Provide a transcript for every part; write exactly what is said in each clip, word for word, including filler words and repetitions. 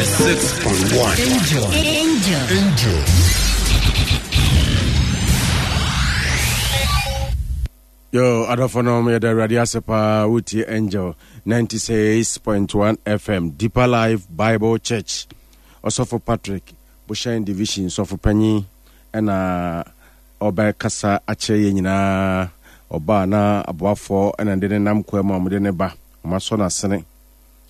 Ninety-six point one. Angel. Angel. Angel. Yo, adɔfo no, yɛda Awurade ase paa. Wotie Angel ninety-six point one F M, Deeper Life Bible Church. Ɔsɔfo Patrick Bohyɛn Division sɔfo panyin ɛna ɔbɛkasa akyerɛ yɛn nyinaa. Ɔbaa na aboafoɔ ɛna de ne nam kwa mu a wɔde ne ba. Wɔasɔ n'asene,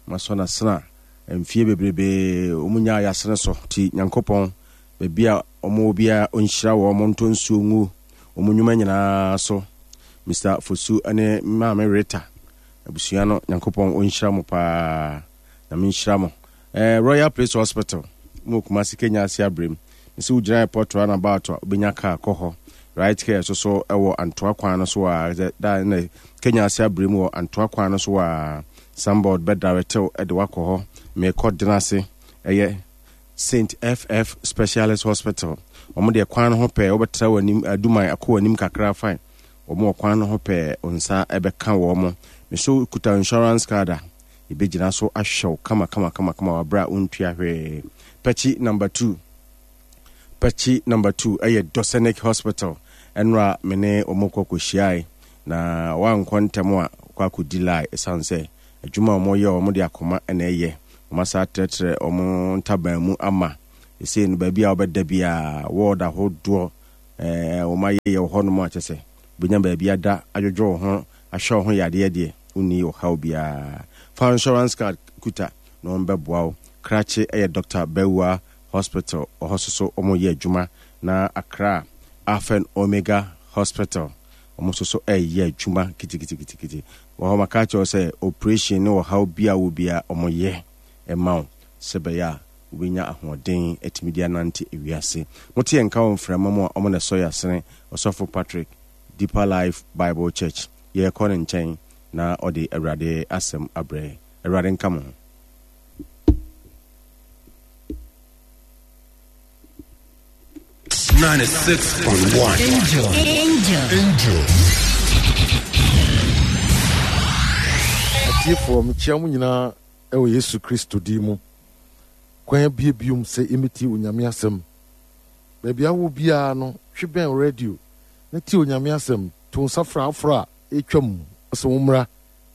wɔasɔ n'asene a mfie bebrebee wɔn nyaa yɛasene so ti. Nyankopɔn, baabi a wɔn wɔ biara, ɔnhyira wɔn, wɔn ntɔ nsuo ngu wɔn nnwuma nyinaa so. Mister Fosu ne Maame Rita abusua no, Nyankopɔn ɔnhyira mo paa na menhyira mo. eh, royal Place Hospital mu, Kumase Kenya ase abrɛm sɛ wogyina airport roundabout a, wobɛnya car kɔ hɔ. Right Care so so ɛwɔ Antoa kwan no so a da na Kenya ase abrɛm wɔ Antoa kwan no so a signboard bɛdaretew de wakɔ hɔ. Mekɔ dena ase, ɛyɛ Saint F F Specialist Hospital. Wɔn deɛ, kwan no ho pɛɛ. Wobɛtra w'anim Aduman akɔ w'anim kakra, fine, wɔn wɔ kwan no ho pɛɛ, nsa ɛbɛka wɔn mo. Meso kuta insurance card a yɛbɛgyina so ahwɛ wo kama kama kama kama wɔ aberɛ a wontua hwee. Pɛkyi number two, Pɛkyi number two ɛyɛ Dosenic Hospital. Ɛnora me ne wɔn kɔ kɔhyiae na wankɔ ntɛm a kɔ akɔdi lie, ɛsiane sɛ adwuma a wɔyɛ, wɔn de akoma ɛna ɛyɛ. Wɔn asa atrɛtrɛ wɔn ntaban mu ama ɛsei no, baabi a wobɛda biara, ward ahodoɔ ɛɛ wɔn ayɛ yɛ wɔ hɔnom a kyɛ sɛ wobɛnya baabi ada adwodwo wo ho, ahwɛ wo ho yadeɛ deɛ, wonni ɔhaw biara. Fa insurance card kuta na wɔn bɛboa wo. Krakye ɛyɛ Doctor Bawua Hospital, ɔhɔ so so wɔn yɛ adwuma, na Accra Alpha and Omega Hospital, wɔn nso so ɛyɛ adwuma kitikitikitikiti wɔ hɔ. Maka kyerɛw sɛ operation ne ɔhaw bi a wɔ bia, wɔn yɛ ɛma wo sɛ bɛyɛ a wobɛnya ahoɔden atumi de anante ewiase. Mote yɛn nka wɔ mframa mu a, ɔmo na ɛsɔ yɛ asene. Ɔsɔfo Patrick, Deeper Life Bible Church, yɛrekɔ ne nkyɛn na ɔde Awurade asɛm abrɛ. Awurade nka mo ho. Ninety-six point one. Angel. Angel. Angel. Atiefoɔ, mekyia mo nyinaa ɛwɔ Yesu Kristo din mu. Kwan abie biom sɛ yɛmɛtie Onyame asɛm. Baabi awɔ biara no, twe bɛn radio na tie Onyame asɛm. To nsa fra aforɔ a ɛtwa mu sɛ wo mmra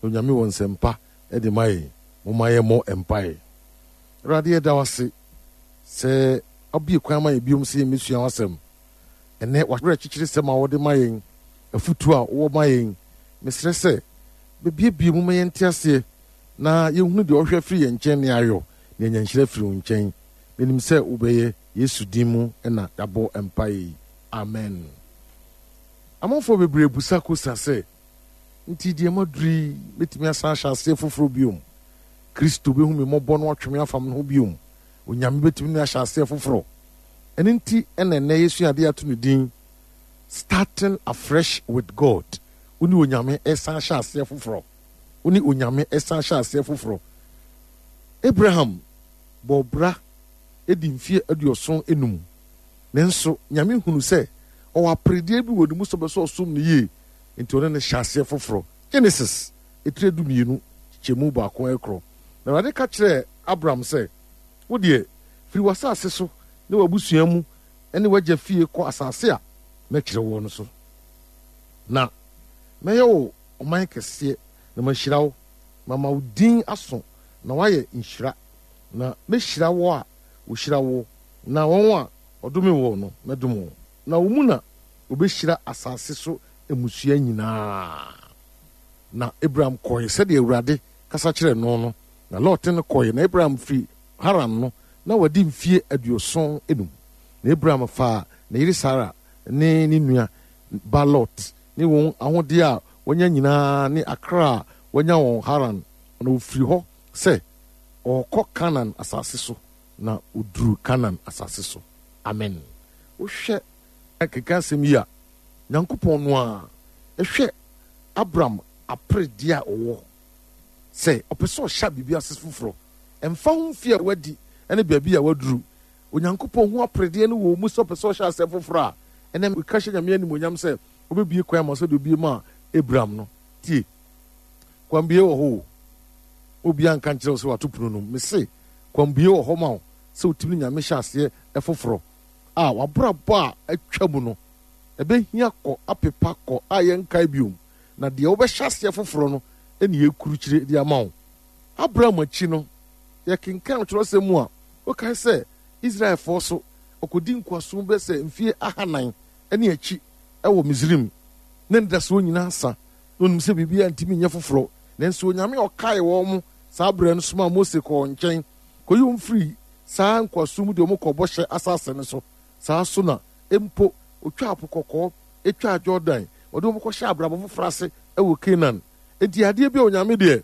na Onyame wɔ nsɛmpa de ma yɛn. Momma yɛmmɔ mpaeɛ. Awurade, yɛda wo ase sɛ abie kwan ma yɛn biom sɛ yɛmmɛsua w'asɛm ɛnɛ. Wawerɛ kyekyere sɛm a wɔde ma yɛn, afutuo a wɔwɔ ma yɛn, mesrɛ sɛ bɛbiebie mu ma yɛnte aseɛ na yɛhunu deɛ ɔhwɛ firi yɛn nkyɛn ne ayɔ na yɛnya nhyira firi wo nkyɛn. Menim sɛ wobɛyɛ. Yesu din mu ɛna yɛabɔ mpaeɛ yi, amen. Amanfoɔ bebree busa kosa sɛ, nti deɛ maduru yi, mɛtumi asan ahyɛ aseɛ foforɔ biom? Kristo bɛhu me mmɔbɔ no atwe me afam no ho biom? Onyame bɛtumi ne ahyɛ aseɛ foforɔ? Ɛno nti ɛna ɛnɛ yɛsua adeɛ ato ne din "Starting Afresh with God". Wo ne Onyame ɛsan hyɛ aseɛ foforɔ, wo ne Onyame ɛsan hyɛ aseɛ foforɔ. Abraham bɔ bra edi mfeɛ aduɔson enum, nanso Nyame hunu sɛ ɔwɔ aperedeɛ bi wɔ ne mu sɛ ɔbɛsɛ ɔsom no yie, nti ɔne no hyɛ aseɛ foforɔ. Genesis etire du mmienu kyɛmu baako ɛkorɔ, na Awurade ka kyerɛɛ Abraham sɛ, "Wo deɛ, firi w'asase so ne w'abusua mu ne w'agya fie kɔ asase a mɛkyerɛ wɔ no so, na mɛyɛ wo ɔman kɛseɛ na mahyira wo, mama wo din aso na woayɛ nhyira, na mɛhyira wo a wɔhyira wo, na wɔn a ɔdome wɔ no, mɛdome wɔn, na wo mu na wɔbɛhyira asase so mmusua nyinaa." Na Abraham kɔe sɛdeɛ Awurade kasa kyerɛ no no, na Lot no kɔe. Na Abraham firi Haran no, na wadi mfie aduɔson enum. Na Abraham faa ne yere Sara ne ne nua ba Lot ne wɔn ahodeɛ a wɔanya nyinaa ne akra a wɔanya wɔn Haran, na ofiri hɔ sɛ ɔrekɔ Kanan asase so, na oduru Kanan asase so. Amen. Wohwɛ keka asɛm yi a, Nyankopɔn no a ɛhwɛ Abraham aperedeɛ a ɔwɔ sɛ ɔpɛ sɛ ɔhyɛ biribi ase foforɔ, ɛmfa ho mfie a wadi ne baabi a waduru, Onyankopɔn ho aperedeɛ no wɔ mu sɛ ɔpɛ sɛ ɔhyɛ asɛm foforɔ a ɛnɛ meka hyɛ Nyame animonyam sɛ wobɛbie kwan ma sɛdeɛ obie ma Abraham no. Tie, kwan bie wɔ hɔ o. Obiara nka nkyerɛ wo sɛ wato pono no mu. Mese Kwanbue wɔ hɔ ma wo sɛ wotumi ne Nyame hyɛ aseɛ foforɔ a w'abrabɔ a atwa mu no ɛbɛhia kɔ apepa kɔ a yɛnkae biom, na deɛ wobɛhyɛ aseɛ foforɔ no ne yɛkurukyire de ama wo. Abraham akyi no, yɛkenkan twerɛsɛm mu a, wokae sɛ Israelfoɔ so ɔkɔdi nkoasom bɛ sɛ mfie ahanan ne akyi wɔ Misraim. Na anidasoɔ nyinaa sa, na onim sɛ biribiara ntumi nyɛ foforɔ. Nanso Onyame a ɔkae wɔn saa berɛ no somaa Mose kɔɔ wɔn nkyɛn kɔyi wɔn firii saa nkoasom mu de wɔn kɔɔ bɔhyɛ asase no so. Saa so na mpo ɔtwaa Po Kɔkɔɔ, twaa Jordan, ɔde wɔn kɔhyɛɛ abrabɔ foforɔ ase wɔ Canaan. Enti adeɛ bi a Onyame deɛ,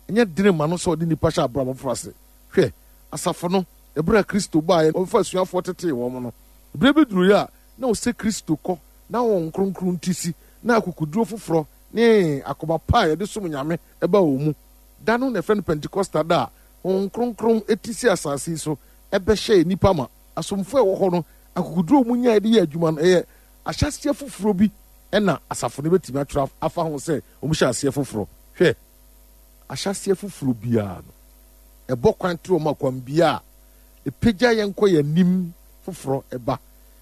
ɛnyɛ dene ma no sɛ ɔde nnipa hyɛ abrabɔ foforɔ ase. Hwɛ, asafo no, ɛberɛ a Kristo baeɛ na ɔbɛfaa asuafoɔ tetee wɔn no, berɛ bi duruiɛ a na ɔsɛ Kristo kɔ na Honhom Kronkron ti si, na akokoduro foforɔ ne akoma pa a yɛde som Nyame ba wɔn mu. Da no na yɛfrɛ no Pentekosta da a Honhom Kronkron ti si asase yi so bɛhyɛɛ nnipa ma. Asomfoɔ a ɛwɔ hɔ no, akokoduro a wɔnyaeɛ de yɛɛ adwuma no, ɛyɛ ahyɛaseɛ foforɔ bi na asafo no bɛtumi atwerɛ afa ho sɛ wɔhyɛ aseɛ foforɔ. Hwɛ, ahyɛaseɛ foforɔ biara no, ɛbɔ kwan to wɔn akwanbea a ɛpagya yɛn kɔ yɛn anim foforɔ ba.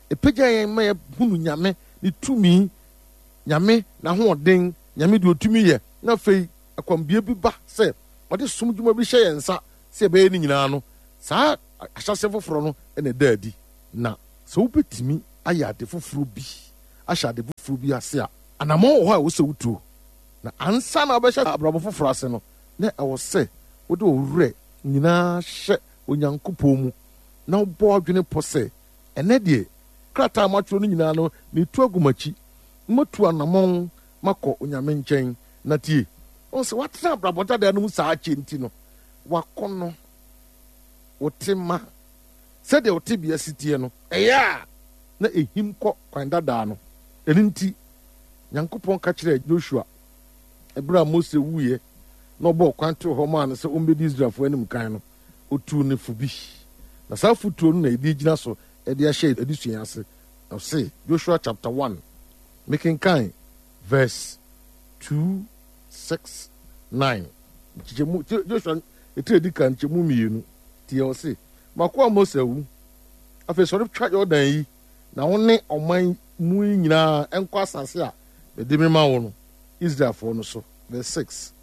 Ɛpagya yɛn ma yɛhunu Nyame ne tumi, Nyame n'ahoɔden, Nyame deɛ ɔtumi yɛ, na afei akwanbea bi ba sɛ ɔde som dwuma bi hyɛ yɛn nsa sɛ yɛbɛyɛ ne nyinaa no, saa ahyɛaseɛ foforɔ no na ɛda adi. Na sɛ wobɛtumi ayɛ ade foforɔ bi, ahyɛ ade foforɔ bi ase a, anammɔn wɔ hɔ a ɛwɔ sɛ wotuo. Na ansa na wobɛhyɛ abrabɔ foforɔ ase no, na ɛwɔ sɛ wode wo werɛ nyinaa hyɛ Onyankopɔn mu na wobɔ w'adwene pɔ sɛ, Ɛnnɛ deɛ, krataa a matwerɛ no nyinaa no, meretu agu m'akyi, na matu anammɔn makɔ Onyame nkyɛn. Na tie, woahu sɛ woatena abrabɔ dada no mu saa akyɛ nti no, w'akɔnnɔ, wo tema, sɛdeɛ wo tebea si teɛ no, ɛyɛ a na ɛhim kɔ kwan dadaa no. Ɛno nti, Nyankopɔn ka kyerɛɛ Joshua ɛberɛ a Mose wuiɛ na ɔbɔɔ kwan too hɔ maa no sɛ ɔmmɛdi Israelfoɔ anim kan no, ɔtuu no fo bi. Na saa afotuo no na yɛde gyina so de ahyɛ adesua yi ase. Ɔse, Joshua chapter one, mekenkan verse two, six, nine. Nkyekyɛmu, Joshua etire edi kan nkyɛmu mmienu. Tie, ɔse, M'akoa Mose awu. Afei sɔre twa Yordan yi, na wo ne ɔman mu yi nyinaa nkɔ asase a mede mema wo no, Israelfoɔ no so. Verse six.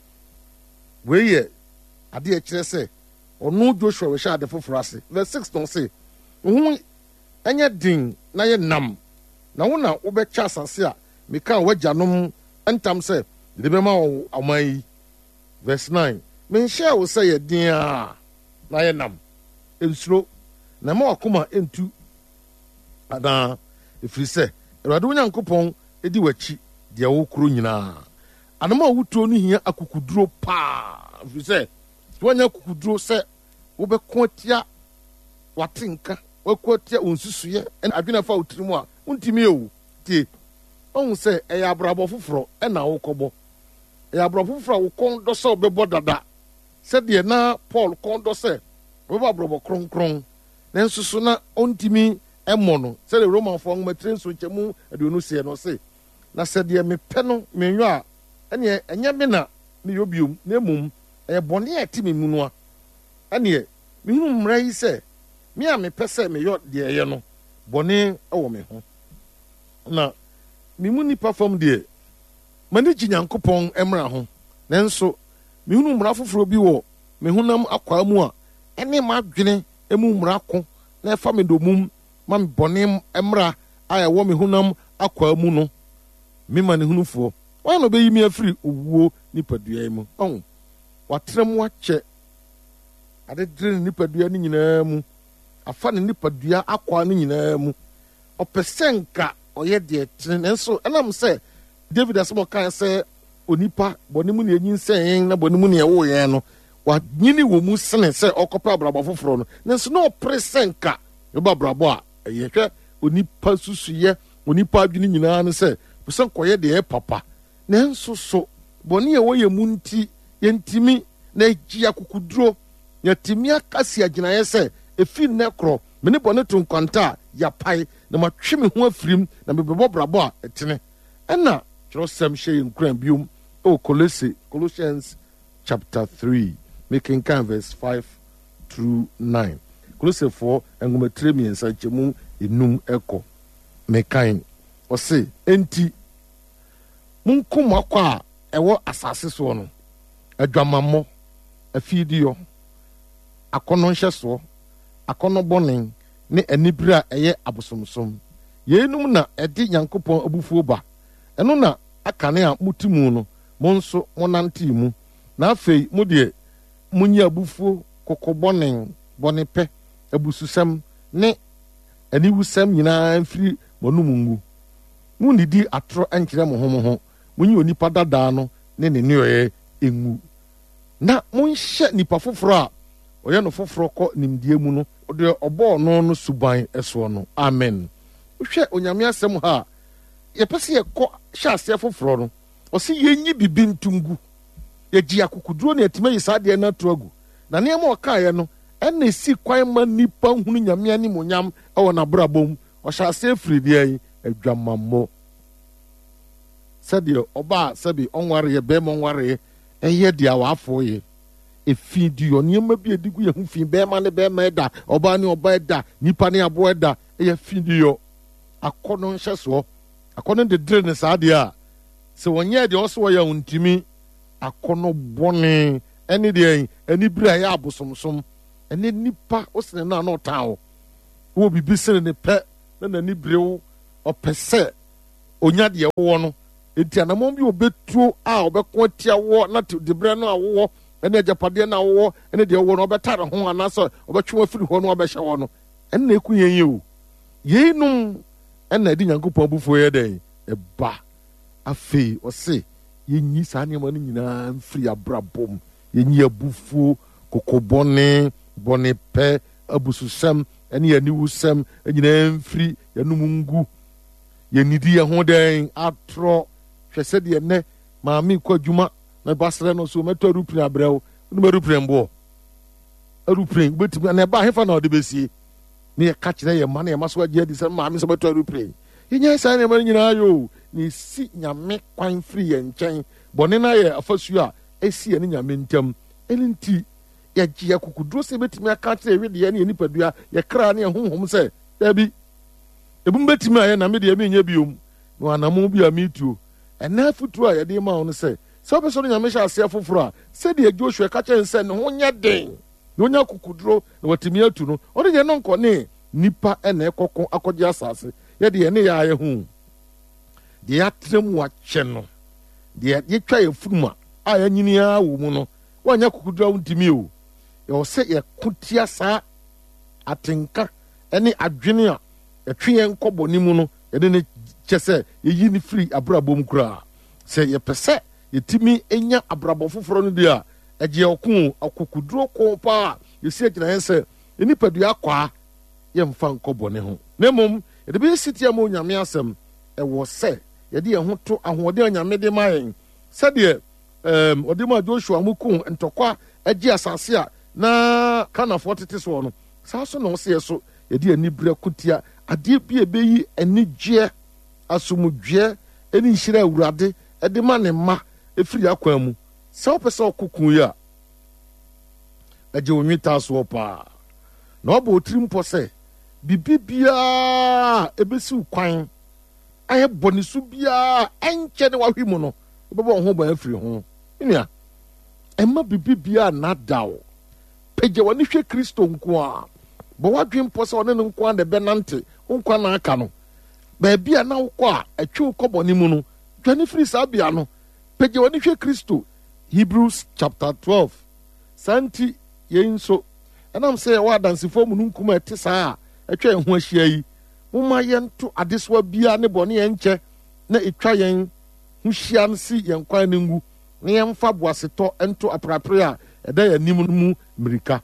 Wei yɛ adeɛ a ɛkyerɛ sɛ ɔno Joshua rehyɛ ade foforɔ ase. Verse six na ɔse, Wo ho nyɛ den na yɛ nnam, na wo na wobɛkyɛ asase a mekaa w'agyanom ntam sɛ mede bɛma wɔn ɔman yi. Verse nine, Menhyɛɛ wo sɛ yɛ den ara na yɛ nnam, nsuro, na mma w'akoma nntu anaa, ɛfiri sɛ Awurade wo Nyankopɔn di w'akyi deɛ wokorɔ nyinaa. Anam a wotuo no hia akokoduro paa, ɛfiri sɛ sɛ woannya akokoduro sɛ wobɛko atia w'atenka, woako atia wo nsusuiɛ ne adwene a ɛfa wo tirim a, wontumi o. Tie, woahu sɛ ɛyɛ abrabɔ foforɔ na wokɔbɔ. Ɛyɛ abrabɔ foforɔ a wo kɔn dɔ sɛ wobɛbɔ dada, sɛdeɛ na Paul kɔn dɔ sɛ ɔbɛbɔ abrabɔ kronkron, nanso so na ɔntumi mmɔ no, sɛdeɛ Romanfoɔ nwoma tire nson nkyɛmu aduonu seɛ no, ɔse, Na sɛ deɛ mepɛ no menyɔ a, ɛnneɛ ɛnyɛ me na meyɔ bio, na mmom ɛyɛ bɔne a ɛte me mu no a. Ɛnneɛ mehunu mmara yi sɛ, me a mepɛ sɛ meyɔ deɛ ɛyɛ no, bɔne wɔ me ho. Na me mu nnipa fam deɛ, m'ani gye Nyankopɔn mmara ho, nanso mehunu mmara foforɔ bi wɔ me honam akwaa mu a ɛne m'adwene mu mmara ko na ɛfa me dommum ma me bɔne mmara a ɛwɔ me honam akwaa mu no, me manehunufoɔ, hwan na ɔbɛyi me afiri owuo nipadua yi mu? Ɔho, watra mu akyɛ, adedere ne nipadua no nyinaa mu, afa ne nipadua akwaa no nyinaa mu. Ɔpɛ sɛ nka ɔyɛ deɛ ɛtene, nanso ɛnam sɛ David asɛm a ɔkae sɛ onipa bɔne mu na yɛnyinsɛn yɛn na bɔne mu na yɛwoo yɛn no, wanyini wɔ mu sene sɛ ɔkɔpɛ abrabɔ foforɔ no, nanso na ɔpere sɛ nka ɔbɛbɔ abrabɔ a ɛyɛ. Hwɛ, onipa nsusuiɛ, onipa adwene nyinaa ne sɛ ɔpɛ sɛ nkɔyɛ deɛ ɛyɛ papa, nanso so bɔne a ɛwɔ yɛn mu nti yɛntumi, na ɛgye akokoduro na yɛatumi aka asi agyinaeɛ sɛ ɛfiri nnɛ korɔ me ne bɔne to nkwanta a yɛapae, na matwe me ho afirim, na mebɛbɔ brabɔ a ɛtene. Ɛna kyerɛwsɛm hyɛ yɛn nkuran biom wɔ Kolose, Colossians chapter three, mekenkan verse five through nine. Kolosefoɔ nwoma tire mmiɛnsa nkyɛmu enum ɛkɔ. Mekan, ɔse, "Enti monkum mo akɔ a ɛwɔ asase soɔ no, adwamammɔ, afiidiyɔ, akɔnnɔ nhyɛsoɔ, akɔnnɔ bɔne ne anibere a ɛyɛ abosomsom. Yeinom na ɛde Nyankopɔn abufuo ba. Ɛno na akane a mote mu no, mo nso monantee mu. Na afei mo deɛ, monyi abufuo, koko bɔne, bɔnepɛ, abususɛm ne aniwusɛm nyinaa mfiri mo anom ngu. Munnidi atorɔ nkyerɛ mo ho mo ho. Monyi onipa dadaa no ne ne nneyɔeɛ ngu, na monhyɛ nipa foforɔ a ɔyɛ no foforɔ kɔ nimdeɛ mu no, deɛ ɔbɔɔ no no suban soɔ no." Amen. Wohwɛ Onyame asɛm ha a, yɛpɛ sɛ yɛkɔ hyɛ aseɛ foforɔ no, ɔse yɛnyi bibi nto ngu. Yɛgye akokoduro ne atumi ayi saa adeɛ no ato agu. Na nneɛma a ɔkaeɛ no, ɛna ɛsi kwan ma nnipa hunu Nyame animuonyam ɛwɔ n'abrabɔ mu. Ɔhyɛ aseɛ firi deɛ yi, adwamammɔ. Sɛdeɛ ɔbaa sɛbi ɔnwareɛ, bɛrima ɔnwareɛ, ɛyɛ deɛ awaafo yɛ. Efi di nneɛma bi a ɛdi gu yɛn ho fi, bɛrima ne bɛrima ɛda, ɔbaa ne ɔbaa ɛda, nipa ne aboa ɛda, ɛyɛ fi di yɔ. Akɔnnɔ nhyɛsoɔ, akɔnnɔ dedere ne saa deɛ a, sɛ wɔnyɛ deɛ ɔsɛ wɔyɛ a ntumi. Akɔnnɔ bɔne ɛne deɛ anibere a ɛyɛ abosomsom. Ɛne nipa wosene no a na ɔtan wo. Wɔ biribi sene ne pɛ na n'ani bere wo, ɔpɛ sɛ onya deɛ wowɔ no. Enti anammɔn bi obetuo a ɔbɛko atia woɔ na diberɛ no a wowɔ ɛne agyapadeɛ no a wowɔ ɛne deɛ wowɔ no ɔbɛtare ho anaasɛ ɔbɛtwe wo afiri hɔ na wabɛhyɛ hɔ no, ɛno na ɛku yɛn yi o. Yeinom ɛna ɛde Nyankopɔn abufuo yɛ dɛn? Ɛba. Afei ɔse yɛnyi saa nneɛma no nyinaa mfiri abrabɔ mu. Yɛnyi abufuo, kokobɔne, bɔnepɛ, abususɛm ɛne aniwusɛm nyinaa mfiri yɛnum ngu. Yɛnnidi yɛn ho dɛn? Atorɔ. Hwɛ sɛdeɛ nnɛ maame kɔ adwuma na ba srɛ no so mɛtɔ aeroplane abrɛ wo. Wonim aeroplane boɔ? Aeroplane wobɛtumi na ɛba hefa na ɔde bɛsie? Ne yɛka kyerɛ yɛn mma na yɛn mma so agye adi sɛ maame sɛ bɛtɔ aeroplane. Yɛnyɛ saa nneɛma no nyinaa yɛ o. Na ɛsi Nyame kwan firi yɛn nkyɛn. Bɔne no ayɛ afasuo a ɛsi yɛne Nyame ntam. Ɛno nti yɛgye akokoduro sɛ yɛbɛtumi aka akyerɛ yɛn wedeɛ ne yɛn nipadua, yɛn kra ne yɛn honhom sɛ daabi, ebinom bɛtumi ayɛ na me deɛ menyɛ biom. Na anammɔn bi a metuo. Ɛnɛ afotuo a yɛde ma wo no sɛ, sɛ wopɛ sɛ ɔne Nyame hyɛ aseɛ foforɔ a, sɛdeɛ Joshua ka kyerɛ no sɛ ne ho nyɛ den na ɔnya akokoduro na watumi atu no, ɔno deɛ no nkɔ ne nipa ɛna ɛkɔko akɔgye asase. Yɛde yɛne yɛ ayɛ ho deɛ yɛatena mu akyɛ no, deɛ yɛtwa yɛ funum a a yɛanyini ara wɔ mu no, woanyɛ akokoduro a wontumi o. Yɛwɔ sɛ yɛko tia saa atenka ne adwene a ɛtwe yɛn kɔ bɔne mu no, yɛde ne kyɛ sɛ yɛyi ne firi abrabɔ mu koraa. Sɛ yɛpɛ sɛ yɛtumi nya abrabɔ foforɔ no deɛ a, ɛgye ɔko, akokoduro ko paa. Yɛsi agyina yɛn sɛ nipadua akwaa, yɛmfa nkɔ bɔne ho, na mmom yɛde bɛyɛ sitia ma Onyame asɛm. Ɛwɔ sɛ yɛde yɛn ho to ahoɔden a Nyame de ma yɛn, sɛdeɛ um, ɔde ma Joshua mu ko ntɔkwa agye asase a na Kanafoɔ tete soɔ no. Saa so na ɔsɛ yɛ so yɛde aniberɛ ko tia adeɛ bi a ɛbɛyi anigyeɛ, asomdwoeɛ ne nhyira Awurade de ma ne mma ɛfiri akwan mu. Sɛ wopɛ sɛ ɔko ko yi a, ɛgye wo nwetaa soɔ paa na wabɔ wo tiri mpɔ sɛ biribi biara ɛbɛsi wo kwan ayɛ bɔne so biara ɛnkyɛ ne wahwe mu no, wobɛbɔ wo ho ban afiri ho. Nua, ɛma biribi biara nnada wo. Pagya w'ani hwɛ Kristo nko a. Bɔ w'adwene mpɔ sɛ ɔne no nko a na ɛbɛnante wo nkwa na aka no. Baabi a na wokɔ a ɛtwe wo kɔ bɔne mu no, dwane firi saa bea no. Pagya w'ani hwɛ Kristo. Hebrews chapter twelve. Saa nti yɛn nso, ɛnam sɛ yɛwɔ adansefoɔ amununkum a ɛte saa a atwa yɛn ho ahyia yi, momma yɛnto adesoa biara ne bɔne a ɛnkyɛ na ɛtwa yɛn ho hyia no si yɛn kwan no ngu, na yɛmfa boasetɔ nto aperapere a ɛda yɛn anim no mu mmirika.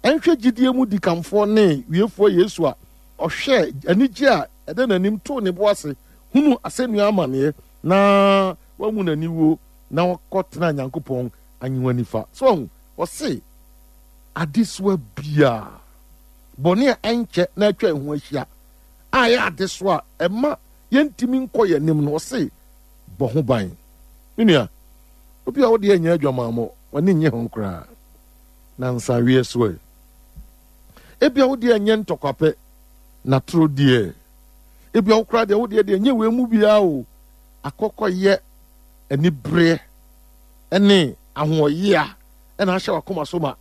Ɛnhwɛ gyidie mu dikanfoɔ ne wiefoɔ Yesu a ɔhwɛɛ anigye a ɛda n'anim too ne bo ase hunuu asɛnnua amanneɛ na wahu n'aniwuo na ɔkɔtenaa Nyankopɔn ahengua nifa. So wahu? Ɔse adesoa biara, bɔne a ɛnkyɛ na atwa yɛn ho ahyia a ɛyɛ adesoa a ɛma yɛntumi nkɔ yɛn anim no, ɔse bɔ ho ban. Me nua, obi a wode anyɛ adwamammɔ, w'ani nnye ho koraa. Na nsaweɛ so ɛ? Ebia wo deɛ nyɛ ntɔkwa pɛ, na toro deɛ. Ebia wo koraa deɛ wo deɛ deɛ nyɛ wei mu biara o. Akɔkɔyɛ anibereɛ ne ahoɔyea ɛna ahyɛ w'akoma so ma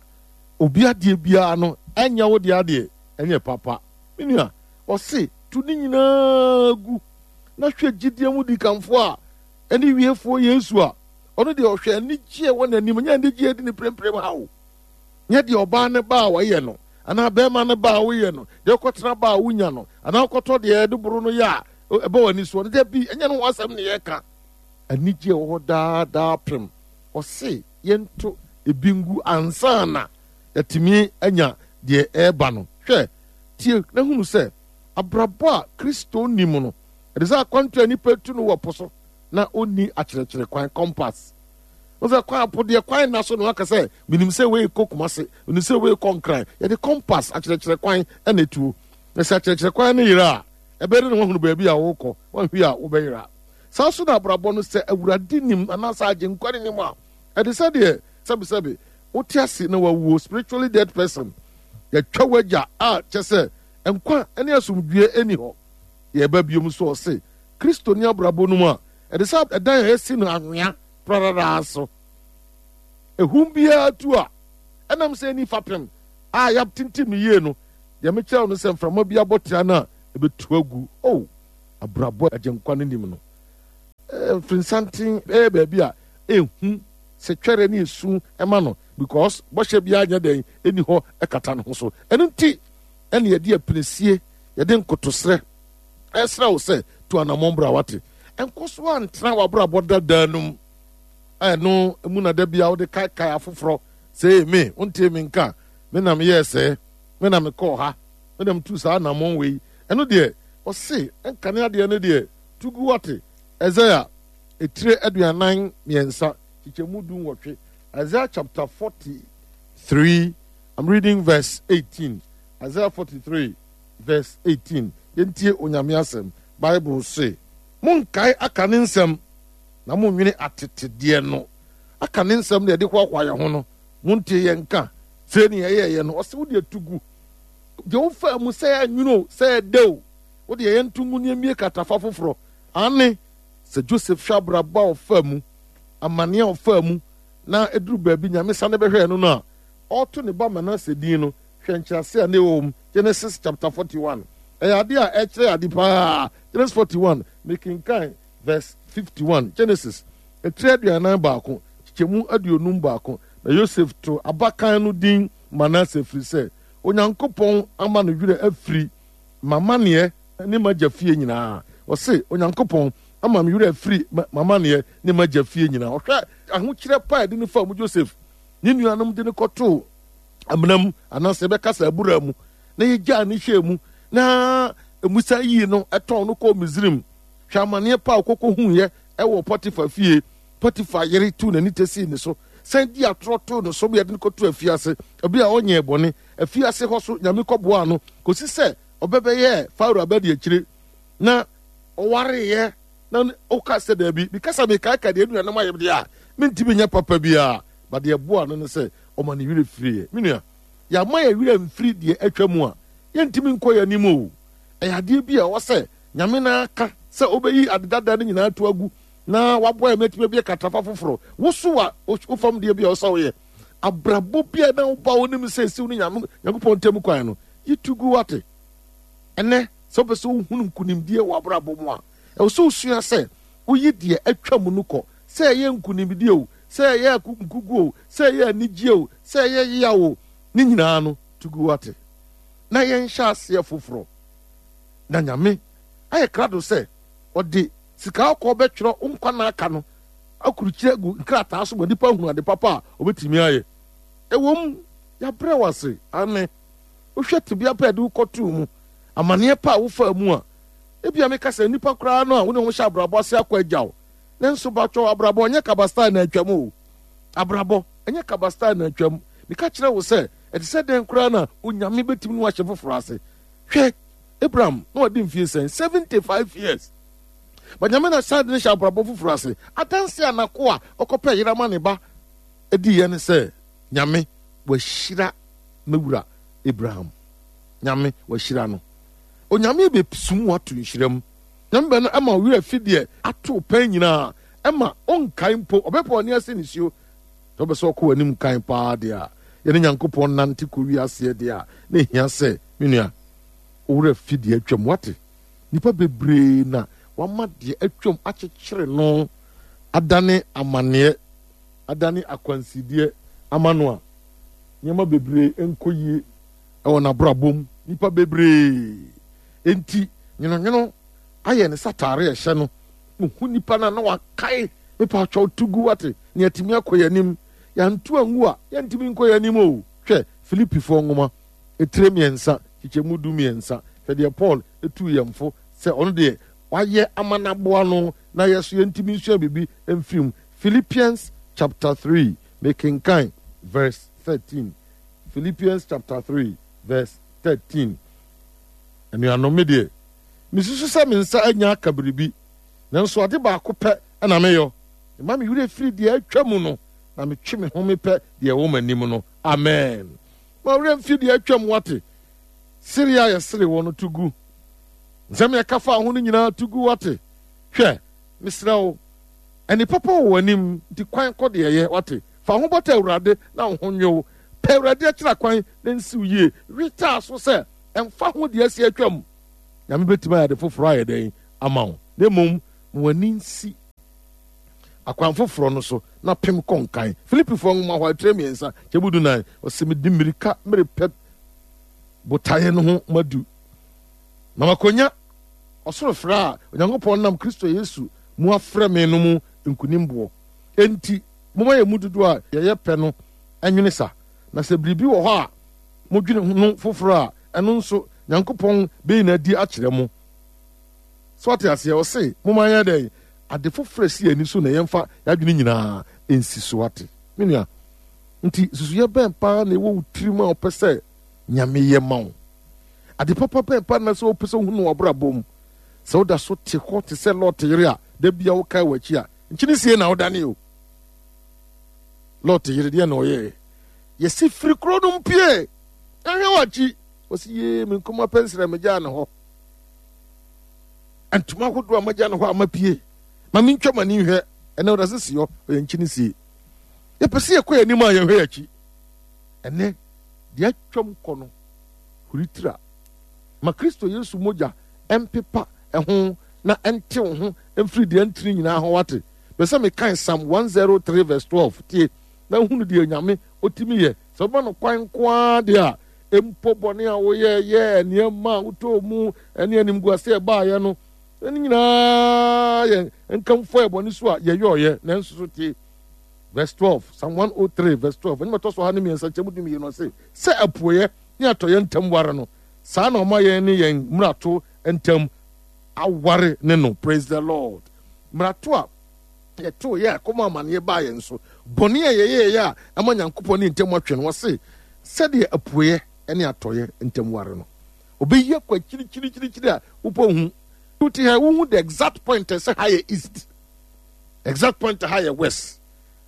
obi adeɛ biara no ɛnyɛ wo deɛ adeɛ ɛnyɛ papa. Me nua, ɔse tu ne nyinaa gu na hwɛ gyidie mu dikanfoɔ a ɛne wiefoɔ Yesu a ɔno deɛ ɔhwɛ anigyeɛ wɔ n'anim, nyɛ anigyeɛ di ne premprem ha o. Nyɛ deɛ ɔbaa ne ba a wɔyɛ no anaa bɛrima ne ba a woyɛ no, deɛ ɔkɔtena ba a wonya no anaa ɔkɔtɔ deɛ ɛde boro no yɛ a ɛbɔ w'ani soɔ no, dabi, ɛnyɛ no ho asɛm ne yɛka. Anigyeɛ wɔ hɔ daa daa pem. Ɔse yɛnto ebi ngu ansa na yɛatumi anya deɛ ɛreba no. Hwɛ, tie na hunu sɛ abrabɔ a Kristo nim no, ɛde sɛ akwantu a nipa tu no wɔ po so na ɔnni akyerɛkyerɛ kwan, compass. Wo sɛ kwan po deɛ kwan na so na waka sɛ menim sɛ wei kɔ Kumase, menim sɛ wei kɔ Nkran. Yɛde compass akyerɛkyerɛ kwan na etuo. Na sɛ akyerɛkyerɛ kwan no yera a, ɛbɛyɛ dɛ na wahunu baabi a wokɔ, wanhwie a wobɛyera. Saa nso na abrabɔ no, sɛ Awurade nim anaasɛ Agyenkwa no nim a, ɛde sɛ deɛ sɛbesɛbe wote ase na wawuo, spiritually dead person, yɛtwa w'agya a kyɛ sɛ nkwa ne asomdwoeɛ ɛni hɔ. Yɛba biom nso ɔse Kristo ne abrabɔ no mu a, ɛde sɛ ɛdan a yɛasi no anwea prararaa so. Ehum biara tu a, ɛnam sɛ ɛni fapem a yɛatintim no yie no, deɛ mekyerɛ wo no sɛ mframa bi abɔ tea no a, ɛbɛtu agu. Oh, abrabɔ Agyenkwa no nim no. Mfirisanten ɛyɛ baabi a ehu sɛ twɛrɛ ne esu ɛma no because bɔhyɛ biara nyɛ dɛn ɛni hɔ ɛkata ne ho so. Ɛno nti ɛne yɛde apinisie, yɛde nkotosrɛ ɛsrɛ wo sɛ tu anammɔn bra, wate. Ɛnkɔ so antena w'abrabɔ dadaa no mu. Ɛno mu na da bia wode kaekae afoforɔ sɛ me, wontie me nka, me na meyɛɛ sɛɛ, me na mekɔɔ ha, me na metu saa anammɔn wei. Ɛno deɛ ɔse ɛnkane adeɛ no deɛ tugu, wate. Isaiah etire aduanan mmiɛnsa kyekyɛmu du nwɔtwe. Isaiah chapter forty-three, I'm reading verse eighteen. Isaiah forty-three verse eighteen. Yɛntie Onyame asɛm. Bible se, monkae aka ne nsɛm na monnwene atetedeɛ no. Aka ne nsɛm na yɛde hoahoa yɛn ho no, montie yɛn nka sei ne yɛyɛɛyɛ no. Ɔse wode atu gu deɛ wofaa mu, sɛ ɛnwono o, sɛ ɛdɛ o, wode yɛn nto ngu ne mmie katafa foforɔ. Ane sɛ Joseph hwɛ abrabɔ a ɔfaa mu, amane a ɔfaa mu, na ɛduru baabi Nyame sane bɛhwɛɛ no no a, ɔreto ne ba Manase din no, hwɛ nkyerɛase a na ɛwɔ mu. Genesis chapter forty-one. Ɛyɛ ade a ɛkyerɛ ade paa. Genesis forty-one, mekenkan verse fifty-one. Genesis, etire aduanan baako, kyekyɛmu aduonum baako. Na Yosef to abakan no din Manase, ɛfiri sɛ Onyankopɔn ama no werɛ afiri m'amanneɛ ne m'agya fie nyinaa. Ɔse Onyankopɔn ama me werɛ afiri m'amanneɛ ne m'agya fie nyinaa. Ɔhwɛ ahokyerɛ pa a ɛde no faa mu. Joseph ne nuanom de no kɔtoo amena mu, anaasɛ yɛbɛka sɛ abura mu, na yɛgyaa ne hyɛɛ mu, na Musa yii no ɛtɔn no kɔɔ Misrim. Hwɛ amanneɛ pa a ɔkɔkɔ huiɛ ɛwɔ Potifa fie. Potifa yere tuu n'ani tesii ne so, san di atorɔ too ne so ma yɛde no kɔtoo afiase, ɛberɛ a ɔnyɛɛ bɔne. Afiase hɔ so Nyame kɔboaa no kɔsi sɛ ɔbɛbɛyɛɛ Farao abadiakyire na ɔwareeɛ. Na ɔka sɛ daabi, meka sɛ mekaaka deɛ anuanom ayɛ deɛ a, mentumi nyɛ papa biara. Ba deɛ ɛboaa no ne sɛ ɔma ne werɛ firiiɛ. Me nua, yɛama yɛn werɛ mfiri deɛ atwa mu a, yɛntumi nkɔ yɛn anim o. Ɛyɛ adeɛ bi a ɛwɔ sɛ Nyame no aka sɛ ɔbɛyi ade dada no nyinaa to agu na waboa yɛn atumi abue katafa foforɔ. Wo so a wo fam deɛ bi a ɔsɛ woyɛ abrabɔ bi a na woba wo nim sɛ esiw ne Nyame Nyankopɔn ntam kwan no, yi to gu, wate. Ɛnɛ sɛ wopɛ sɛ wohunu nkonimdie wɔ abrabɔ mu a, ɛwɔ sɛ wosua sɛ woyi deɛ atwa mu no kɔ, sɛ ɛyɛ nkonimdie o, sɛ ɛyɛ nkugu o, sɛ ɛyɛ anigye o, sɛ ɛyɛ yaw o, ne nyinaa no to gu, wate. Na yɛnhyɛ aseɛ foforɔ. Na Nyame ayɛ krado sɛ ɔde sika kɔkɔɔ bɛtwerɛ wo nkwa nna aka no akurukyire agu nkrataa so ma nnipa ahunu ade papa a ɔbɛtumi ayɛ. Ɛwom, yɛabrɛ wo ase, aane, wohwɛ tebea pa a yɛde wo kɔtoo mu, amaneɛ pa a wofaa mu a, ebia meka sɛ nnipa koraa no a wo ne wɔn hyɛ abrabɔ ase akɔ agya wo. Nanso batwɔ, abrabɔ ɛnyɛ kaba style na atwam o. Abrabɔ ɛnyɛ kaba style na atwam. Meka kyerɛ wo sɛ, ɛte sɛ dɛn koraa na Onyame bɛtumi ne wo ahyɛ foforɔ ase. Hwɛ, Abraham na wadi mfie sɛn? seventy-five years. But Nyame na san de no hyɛ abrabɔ foforɔ ase. Adanse a n'akoa ɔkɔpɛ yere ama ne ba diiɛ ne sɛ, Nyame wahyira me wura Abraham. Nyame wahyira no. Onyame bɛsum wo ato nhyira mu. Nyame bɛ no ɛma wo werɛ fi deɛ ato pɛn nyinaa, ɛma ɔnkae mpo, ɔbɛpɛ ɔne ase nisuo. Sɛ wopɛ sɛ ɔkɔ w'anim kan paa deɛ a, yɛne Nyankopɔn nante kɔ wiaseɛ deɛ a, na ɛhia sɛ, me nua, wo werɛ fi deɛ atwam. Wate? Nnipa bebree na wama deɛ atwam akyekyere no, adane amanneɛ, adane akwansideɛ ama no a, nneɛma bebree nkɔ yie ɛwɔ n'abrabɔ mu. Nnipa bebree. Enti, nwononwono ayɛ ne sataare a ɛhyɛ no. Ohu nipa no a na wakae, mepa atwɛw to gu, wate, na yɛatumi akɔ yɛn anim. Yɛanto angu a, yɛntumi nkɔ yɛn anim o. Hwɛ, Filipifoɔ nwoma, etire mmiɛnsa, kyekyɛmu du mmiɛnsa. Hwɛ deɛ Paul etu yɛn fo sɛ ɔno deɛ wayɛ ama n'aboa no na yɛ so yɛntumi nsua biribi mfiri mu. Philippians chapter three, mekenkan verse thirteen. Philippians chapter three verse thirteen. Anuanom, me deɛ, mesusu sɛ me nsa anya aka biribi, nanso ade baako pɛ na meyɔ. Mma me werɛ firi deɛ atwa mu no, na metwe me ho mepɛ deɛ ɛwɔ m'anim no. Amen. Ma werɛ mfiri deɛ atwa mu, wate. Sere a yɛsere wɔ no to gu. Nsɛm yɛka fa ho no nyinaa to gu, wate. Hwɛ, mesrɛ wo, ɛne papa wɔ w'anim, nti kwan kɔ deɛ ɛyɛ, wate. Fa ho bɔtɔ Awurade na wo ho nwe wo. Pɛ Awurade akyira kwan na nsiw yie. Wetaa so sɛ ɛmfa ho deɛ asi atwam. Nyame bɛtumi ayɛ ade foforɔ ayɛ dɛn ama wo. Na mmom, ma w'ani nsi akwan foforɔ no so na pem kɔ nkan. Filipifoɔ nwoma hɔ atire mmiɛnsa kyɛmu du nan, ɔsɛ mede mmirika merepɛ botaeɛ no ho madu. Na makonya ɔsoro frɛ a Onyankopɔn nam Kristo Yesu mu afrɛ me no mu nkonimboɔ. Enti, momma yɛn mu dodoɔ a yɛyɛ pɛ no nwene sa. Na sɛ biribi wɔ hɔ a modwene no foforɔ a, ɛno nso Nyankopɔn bɛyi no adi akyerɛ mo. So ate aseɛ, ɔse momma yɛn dɛn? Ade foforɔ a ɛsi yɛn ani so na yɛmfa yɛadwene nyinaa nsi so. Ate, me nua? Nti susuyɛ bɛn paa na ɛwɔ wo tirim a wopɛ sɛ Nyame yɛ ma wo? Ade papa bɛn paa na sɛ wopɛ sɛ wohu no w'abrabɔ mu? Sɛ woda so te hɔ te sɛ Lot yere a da bia wokae w'akyi a, nkyene sie na wodane o. Lot yere deɛ na ɔyɛɛ? Yɛsi firi kuro no mpie, ɛhwɛ w'akyi. Wɔsi yee me nkuma pɛnsrɛ megyaa ne hɔ. Ntoma ahodoɔ a magya ne hɔ a mapie. Ma mentwa m'ani nhwɛ. Ɛnɛ ɔda sisi hɔ, ɔyɛ nkyene sie. Yɛpɛ sɛ yɛkɔ yɛn anim a yɛhwɛ yɛn akyi. Ɛnɛ deɛ atwam kɔ no, huri tira. Ma Kristo Yesu mogya ɛmpepa ɛho na ɛntew ho mfiri deɛ ntini nyinaa ho, wate. Pɛ sɛ mekan Psalm one oh three verse twelve, tie na hunu deɛ Nyame ɔtumi yɛ. Sɛ wobɛma no kwan nko ara deɛ a, mpo bɔne a woyɛ yɛ nneɛma a wotɔɔ mu ɛne animguase a ɛbaayɛ no, ɛne nyinaa yɛ nkamfo a ɛbɔne so a yɛyɔɔyɛ. Nanso so tie verse twelve, Psalm one oh three verse twelve, ɛne mɛtɔ so ha ne mmiɛnsa kyɛm du mmienu, ɔse sɛ apueɛ ne atɔeɛ ntam ware no, saa na ɔma yɛn ne yɛn mmarato ntam aware ne no. Praise the Lord. Mmarato a yɛtoo yɛ a kɔma amanneɛ baa yɛn so, bɔne a yɛyɛɛyɛ a ɛma Nyankopɔn ne ntam atwe no, wɔse sɛdeɛ apueɛ ne atɔeɛ ntam ware no, ɔbɛyi akɔ akyirikyirikyirikyiri a wopɔ hu. Wote ha, wohu the exact point sɛ ha yɛ east, exact point ha yɛ west.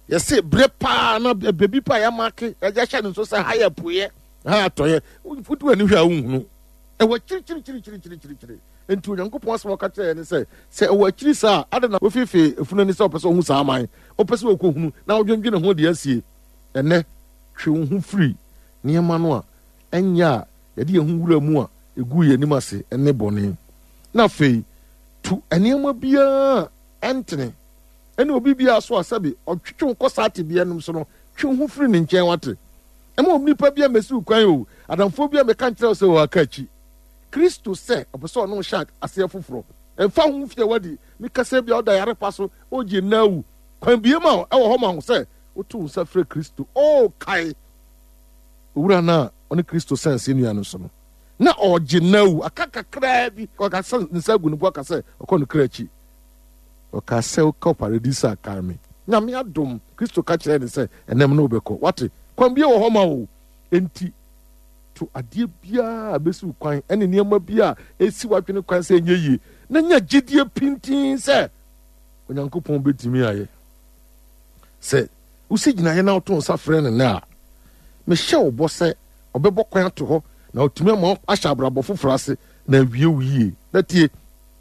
Yɛse berɛ paa na baabi paa yɛamake yɛahyɛ no nso sɛ ha yɛ apueɛ, ha yɛ atɔeɛ. Wotu w'ani hwɛ a, wonhunu ɛwɔ akyirikyirikyirikyirikyiri. Nti Onyankopɔn asɛm a ɔka kyerɛ yɛn ne sɛ, sɛ ɛwɔ akyiri saa a, ade na wofeefee efunu ani sɛ ɔpɛ sɛ ɔhu saa aman, ɔpɛ sɛ ɔkɔhunu na ɔdwendwene ho deɛ asie. Ɛnɛ twe wo ho firi nneɛma no a ɛnyɛ a yɛde yɛn ho wura mu a ɛgu yɛn anim ase ne bɔne, na afei tu nneɛma biara ɛntene ɛne obi biara so a sɛbi ɔtwetwe wo kɔ saa tebea nom so no, twe wo ho firi ne nkyɛn, wate. Ɛma onipa bi a mɛsi wo kwan o, adamfoɔ bi a mɛka nkyerɛ wo sɛ ɔaka akyi Kristo sɛ ɔpɛ sɛ ɔne wo hyɛ aseɛ foforɔ. Ɛmfa ho mfie a wadi, mekasa bi a ɔda yare pa so, ɔgye nna awu, kwan bie ma wo ɛwɔ hɔ ma wo sɛ woto wo nsa frɛ Kristo. O kae owura no a ɔne Kristo sɛn ase nnua no so no, na ɔgye nna awu, aka kakraa bi ɔka sɛ ne nsa agu ne bo aka sɛ ɔkɔ no kra akyi. Ɔka sɛ wokɔ paradise a, kae me. Nyame adom, Kristo ka kyerɛɛ ne sɛ ɛnɛm no wobɛkɔ, wate. Kwan bie wɔ hɔ ma wo. Enti to adeɛ biara a bɛsi wo kwan ɛne nneɛma bi a ɛsi w'adwene kwan sɛ ɛnyɛ yie, na nya gyidie pintin sɛ Onyankopɔn bɛtumi ayɛ. Sɛ wosi gyinaeɛ na woto nsa frɛ no nnɛ a, mehyɛ wo bɔ sɛ ɔbɛbɔ kwan ato hɔ Na ɔtumi ama ahyɛ abrabɔ foforɔ ase na awie wo yie. Na tie,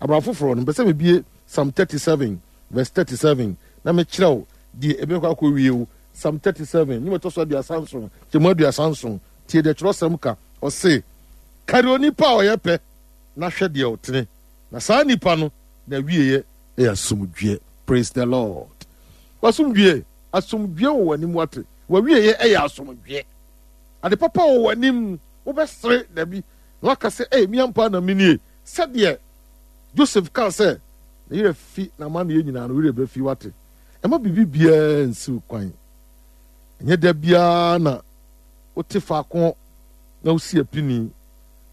abrabɔ foforɔ no, mpɛ sɛ mebie Psalm thirty-seven verse thirty-seven na mekyerɛ wo deɛ ɛbɛkɔ akɔwie wo. Psalm thirty-seven, nnwom ɛtɔ so aduasa nson, kyɛmu aduasa nson. Tie deɛ twerɛsɛm ka. Ɔse, kari onipa a ɔyɛ pɛ na hwɛ deɛ ɔtene, na saa nipa no na awieɛ ɛyɛ asomdwoeɛ. Praise the Lord. Wasomdwoeɛ, asomdwoeɛ wɔ w'anim wate. W'awieɛ ɛyɛ asomdwoeɛ. Ade papa wɔ w'anim, wobɛsere dabi na waka sɛ, "Ei, me ampa na menie." Sɛdeɛ Joseph kaa sɛ ne yerɛ fi n'amanneɛ nyinaa no, werɛ bɛfi wate. Ɛma biribi biara nsiw kwan. Ɛnyɛ da biara na wote faako na wosi apini.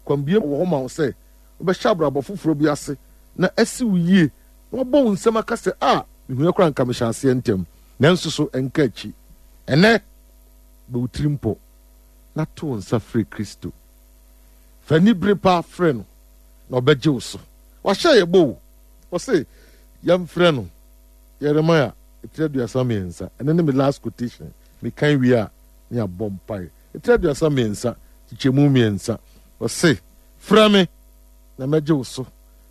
Kwan bie wɔ hɔ ma wo sɛ wobɛhyɛ abrabɔ foforɔ bi ase na asi wo yie na wabɔ wo nsɛm aka sɛ, "A, mehu koraa nka mehyɛ aseɛ ntɛm." Nanso so ɛnka akyi. Ɛnɛ, bɛ wo tiri mpɔ na to wo nsa frɛ Kristo. Fa anibere paa frɛ no na ɔbɛgye wo so. Wahyɛ yɛ bɔ o. Ɔse yɛmfrɛ no. Yeremia etiri aduasa mmiɛnsa. Ɛno ne me last quotation. Mekan wie a ne abɔ mpae. Etiri aduasa mmiɛnsa, kyekyɛmu mmiɛnsa. Ɔse, frɛ me na mɛgye wo so,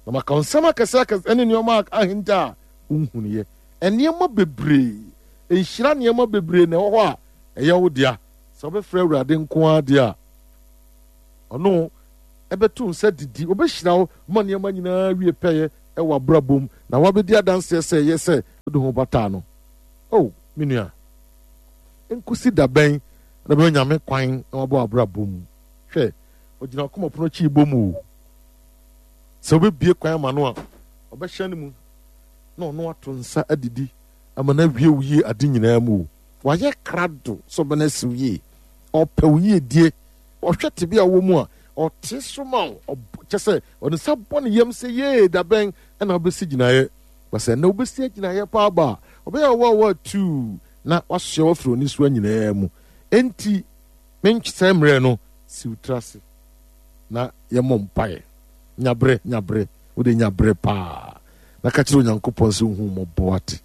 na maka wo nsɛm akɛse akɛse ne nneɛma ahinta a wonhunuiɛ. Nneɛma bebree, nhyira nneɛma bebree na ɛwɔ hɔ a ɛyɛ wo dea. Sɛ wobɛfrɛ Awurade nko ara deɛ a, ɔno ɛbɛto nsa didi, ɔbɛhyira wo ma nneɛma nyinaa wie pɛyɛ ɛwɔ abrabɔ mu, na wabɛdi adanseɛ sɛ ɛyɛ sɛ wode ho bataa no. Oh, me nua, nkosi da bɛn na bɛma Nyame kwan na wabɔ abrabɔ mu? Hwɛ, ɔgyina akoma pono akyi bɔ mu o. Sɛ wobɛbie kwan ama no a, ɔbɛhyɛ no mu na ɔno ato nsa adidi ama no awie wo yie ade nyinaa mu o. Wayɛ krado sɛ ɔbɛno asi wo yie. Ɔpɛ wo yie die. Ɔhwɛ tebea a wɔ mu a, ɔte so ma wo. Kyɛ sɛ ɔde nsa bɔ ne yam sɛ, yee, da bɛn ɛna wobɛsi gyinaeɛ. Ba sɛ ɛnɛ wobɛsi agyinaeɛ paa ba a, ɔbɛyɛ ɔwɔ ɔwɔ atuu na wasoɛ wafiri onisoa nyinaa mu. Enti menkyesɛ mmerɛ no, si wo tiri ase na yɛmmɔ mpaeɛ. Nyabrɛ, nyabrɛ, wode nyabrɛ paa na ka kyerɛ Onyankopɔn sɛ wohu mmɔbɔ ate.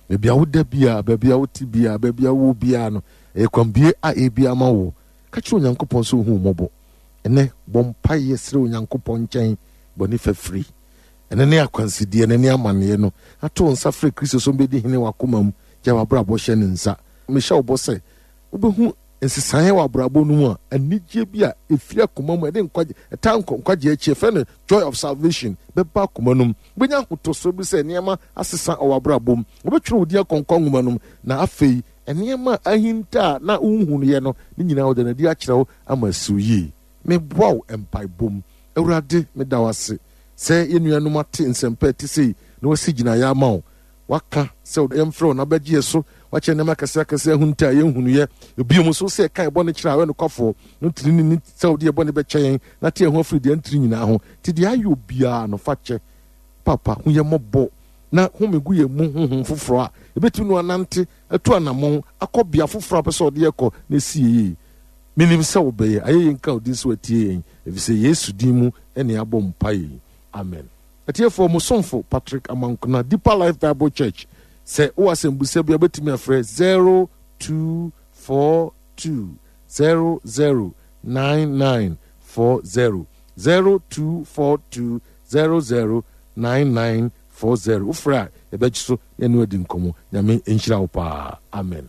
Baabi a woda biara, baabi a wote biara, baabi a wowɔ biara no, ɛyɛ kwanbie a ɛbi ama wo. Ka kyerɛ Onyankopɔn sɛ wohu mmɔbɔ. Ɛnɛ, bɔ mpaeɛ srɛ Onyankopɔn nkyɛn bɔne fafiri. Ɛnɛ ne akwansideɛ, ɛnɛ ne amanneɛ no, ato wo nsa frɛ Kristo sɛ ɔmbɛdi hene w'akoma mu, gya w'abrabɔ hyɛ ne nsa. Mehyɛ wo bɔ sɛ wobɛhu nsesaeɛ wɔ abrabɔ no mu a, anigyeɛ bi a ɛfiri akoma mu, ɛde nkwagye, ɛtaa nkɔ nkwagye akyi, ɛfrɛ no joy of salvation, bɛba akoma no mu. Wobɛnya ahotosoɔ bi sɛ nneɛma asesa wɔ abrabɔ mu. Wobɛtwerɛ wo din akɔnkɔ nwoma no mu, na afei nneɛma a ahinta a na wonhunuiɛ no, ne nyinaa wɔde no adi akyerɛ wo ama asi wo yie. Meboa wo mpaebɔ mu. Awurade, meda wo ase sɛ yɛn nuanom ate nsɛmpa a ɛte sei na wɔasi gyinaeɛ ama wo. Waka sɛ yɛmfrɛ wo na wobɛgye yɛ so. Wakyerɛ nneɛma akɛse akɛse ahunta a yɛnhunuiɛ. Ebio nso sɛ yɛka yɛn bɔne kyerɛ a, ɔyɛ nokwafoɔ na ɔtene ne ni sɛ ɔde yɛn bɔne bɛkyɛ yɛn na ate yɛn ho afiri deɛ ɛntene nyinaa ho. Nti deɛ ayɛ obiara no, fa kyɛ. Papa, hu yɛn mmɔbɔ na home gu yɛn mu honhom foforɔ a yɛbɛtumi no anante atu anammɔn akɔ bea foforɔ a wopɛ sɛ ɔde yɛn kɔ na ɛsi yɛn yie. Menim sɛ wobɛyɛ. Ayɛ yɛn nka wo din sɛ watie yɛn, ɛfiri sɛ Yesu din mu na yɛabɔ mpaeɛ yi. Amen. Atiefoɔ, mo somfo Patrick Amankona, Deeper Life Bible Church. Sɛ wowɔ asɛmbusa bi a, wobɛtumi afrɛ zero two four two zero zero nine nine four zero, zero two four two zero zero nine nine four zero. Wofrɛ a, yɛbɛgye so na yɛne wo adi nkɔmmɔ. Nyame nhyira wo paa. Amen.